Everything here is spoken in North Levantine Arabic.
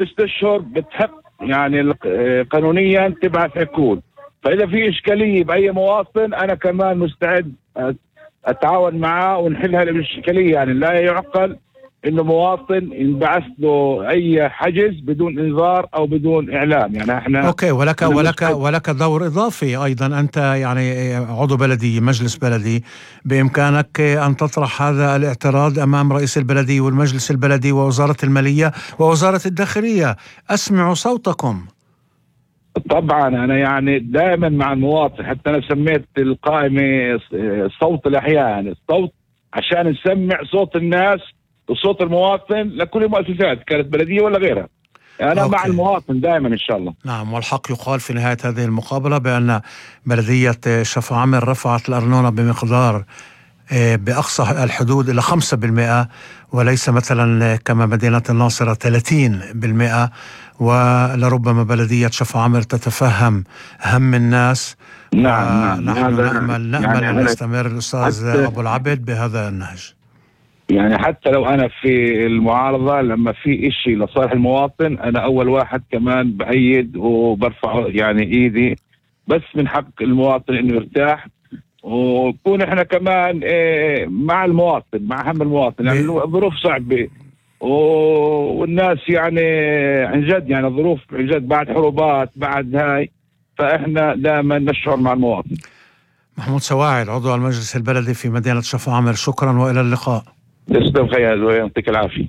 اشهر بتحق يعني قانونيا تبعث عقود. فاذا في اشكاليه باي مواطن انا كمان مستعد اتعاون معاه ونحل هذه الاشكاليه. يعني لا يعقل انه مواطن ينبعث له اي حجز بدون انذار او بدون اعلام. يعني احنا اوكي، ولك دور اضافي ايضا. انت يعني عضو بلديه، مجلس بلدي، بامكانك ان تطرح هذا الاعتراض امام رئيس البلديه والمجلس البلدي ووزاره الماليه ووزاره الداخليه. اسمعوا صوتكم. طبعا انا يعني دائما مع المواطن، حتى انا سميت القائمه صوت الاحياء، يعني الصوت عشان نسمع صوت الناس وصوت المواطن لكل المؤسسات كانت بلديه ولا غيرها. يعني انا مع المواطن دائما ان شاء الله. نعم، والحق يقال في نهايه هذه المقابله بان بلديه شفاعمر رفعت الارنونه بمقدار بأقصى الحدود إلى 5%، وليس مثلا كما مدينة الناصرة 30%. ولربما بلدية شفاعمر تتفهم هم الناس. نعم نحن نأمل أن يستمر الأستاذ أبو العبد بهذا النهج. يعني حتى لو أنا في المعارضة، لما في إشي لصالح المواطن أنا أول واحد كمان بأيد وبرفع يعني إيدي، بس من حق المواطن إنه يرتاح، ونكون احنا كمان مع المواطن، مع هم المواطن. يعني الظروف صعبة والناس يعني عن جد، يعني الظروف عن جد بعد حروبات بعد هاي، فاحنا دائما نشعر مع المواطن. محمود سواعد، عضو المجلس البلدي في مدينة شفاعمر، شكرا وإلى اللقاء. تسلم خيال ويعطيك العافية.